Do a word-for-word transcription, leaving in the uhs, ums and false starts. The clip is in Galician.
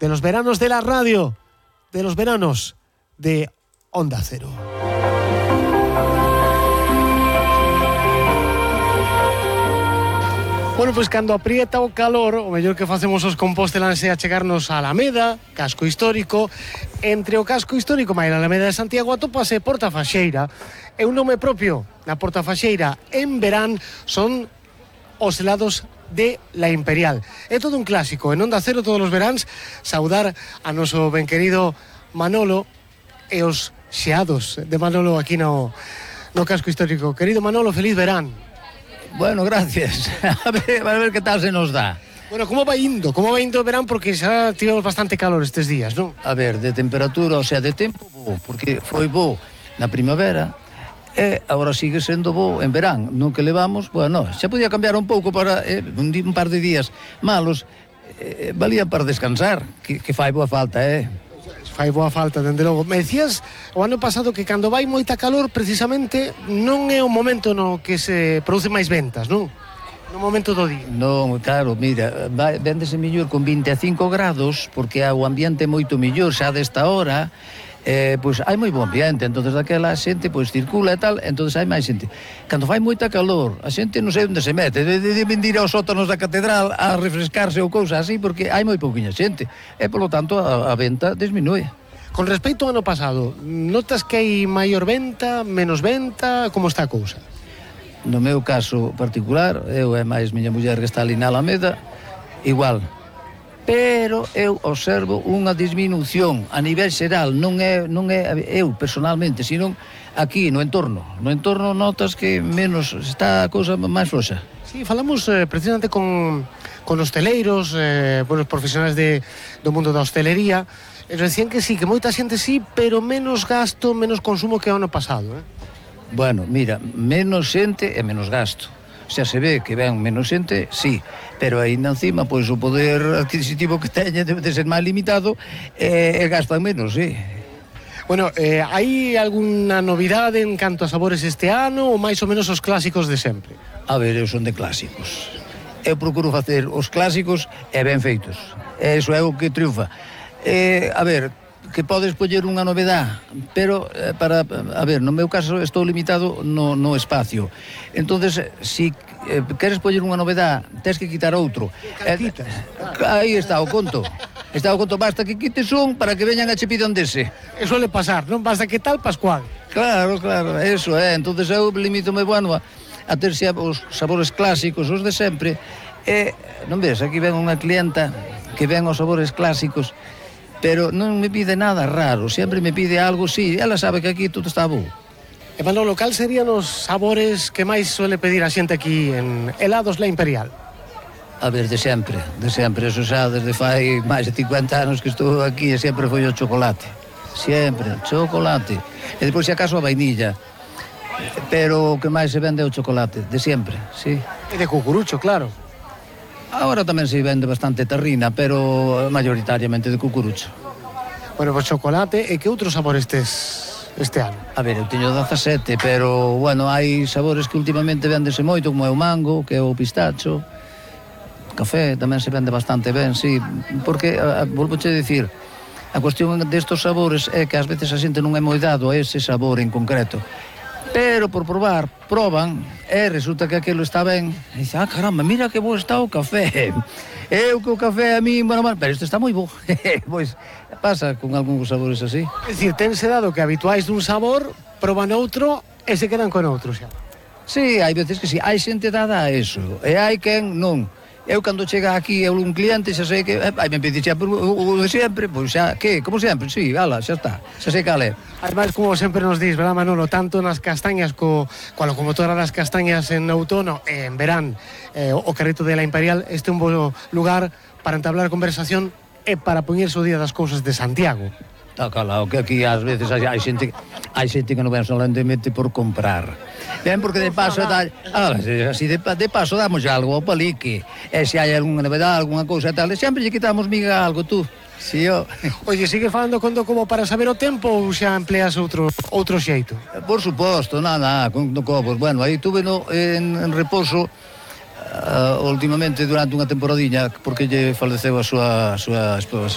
de los veranos de la radio, de los veranos de Onda Cero. Bueno, pois cando aprieta o calor, o mellor que facemos os composteláns é achegarnos a Alameda, casco histórico. Entre o casco histórico máis a Alameda de Santiago atópase Porta Faxeira. E un nome propio na Porta Faxeira en verán son os helados de La Imperial. É todo un clásico, en Onda Cero todos os veráns, saudar a noso ben querido Manolo e os xeados de Manolo aquí no, no casco histórico. Querido Manolo, feliz verán. Bueno, gracias. A ver, a ver que tal se nos dá. Bueno, como vai indo? Como vai indo o verán? Porque xa tivemos bastante calor estes días, non? A ver, de temperatura, o sea, de tempo, bo, porque foi bo na primavera e agora sigue sendo bo en verán. No que levamos, bueno, xa podía cambiar un pouco para eh, un, un par de días malos, eh, valía para descansar, que, que fai boa falta, eh? Fai boa falta, dende logo. Me decías o ano pasado que cando vai moita calor, precisamente, non é o momento no que se produce máis ventas, non? No momento do día. Non, claro, mira, vai, véndese mellor con vinte e cinco grados, porque o ambiente é moito mellor xa desta hora, eh, pois hai moi bo ambiente, entonces daquela xente pois circula e tal, entonces hai máis xente. Cando fai moita calor, a xente non sei onde se mete, deben de ir aos sótanos da catedral a refrescarse ou cousa así, porque hai moi pouquinha xente, e polo tanto a, a venta disminúe. Con respecto ao ano pasado, notas que hai maior venta, menos venta, como está a cousa? No meu caso particular, eu e máis miña muller que está ali na Alameda, igual. Pero eu observo unha disminución a nivel xeral, non é, non é eu personalmente, sino aquí no entorno. No entorno notas que menos está a cousa máis floxa. Sí, falamos eh, precisamente con, con hosteleiros, eh, bueno, profesionais de, do mundo da hostelería, e decían que sí, que moita xente sí, pero menos gasto, menos consumo que o ano pasado, eh? Bueno, mira, menos xente e menos gasto. Xa se ve que ven menos xente, sí, pero ainda encima, pois o poder adquisitivo que teña debe de ser máis limitado e, e gastan menos, sí. Bueno, eh, hai algunha novidade en canto a sabores este ano ou máis ou menos os clásicos de sempre? A ver, eu son de clásicos. Eu procuro facer os clásicos e ben feitos. Eso é o que triunfa. Eh, a ver, que podes poñer unha novedade, pero eh, para, a ver, no meu caso estou limitado no, no espacio. Entonces, si eh, queres poñer unha novedade, tens que quitar outro. Que quitas? Eh, aí está o conto. Está o conto, basta que quites un para que veñan a che pidan dese. E suele pasar, non? Basta que tal Pascual. Claro, claro, eso é. Eh. Entonces eu limito-me, bueno, a, a ter xa os sabores clásicos, os de sempre. E, non ves, aquí ven unha clienta que ven os sabores clásicos, pero non me pide nada raro, sempre me pide algo, sí, ela sabe que aquí todo está bo. E Manolo, cal serían os sabores que máis suele pedir a xente aquí en Helados La Imperial? A ver, de sempre, de sempre, eso xa desde fai máis de cincuenta anos que estou aquí e sempre foi o chocolate, sempre, chocolate, e depois se acaso a vainilla, pero o que máis se vende é o chocolate, de sempre, sí. E de cucurucho, claro. Agora tamén se vende bastante terrina, pero mayoritariamente de cucurucho. Bueno, pois chocolate, e que outros sabores tes este ano? A ver, eu teño dezasete, pero, bueno, hai sabores que últimamente vendese moito, como é o mango, que é o pistacho, o café tamén se vende bastante ben, sí, porque, volvoche dicir, a cuestión destos sabores é que ás veces a xente non é moi dado a ese sabor en concreto. Pero por probar, proban, e resulta que aquilo está ben, e dice, ah, caramba, mira que bo está o café. Eu que o café a mí, bueno, bueno, pero isto está moi bo. Pois pasa con algúns sabores así. É dicir, tense dado que habituais dun sabor, proban outro e se quedan con outro xa. Sí, hai veces que sí, hai xente dada a eso, e hai quen non. Eu cando chega aquí eu un cliente xa sei que ai me pide xa o de sempre, pois xa, que, como sempre, sí, ala, xa está, xa sei cal é. Ademais, como sempre nos dis, verdad, Manolo, tanto nas castañas co, coa locomotora das castañas en outono e en verán, eh, o carrito de La Imperial, este é un bo lugar para entablar conversación e para poñerse o día das cousas de Santiago. Está calado, que aquí ás veces hai, hai xente hai xente que non ven solentemente por comprar. Ben, porque de paso da, ah, así de, de paso damos algo ao palique. E se hai algunha novedade, algunha cousa tal, sempre lle quitamos miga algo, tú. Si, yo. Oye, sigues falando con do como para saber o tempo ou xa empleas outro outro xeito? Por suposto, nada, con do cobos. Bueno, aí tuve no, en, en reposo uh, últimamente durante unha temporadiña porque lle faleceu a súa, a súa esposa.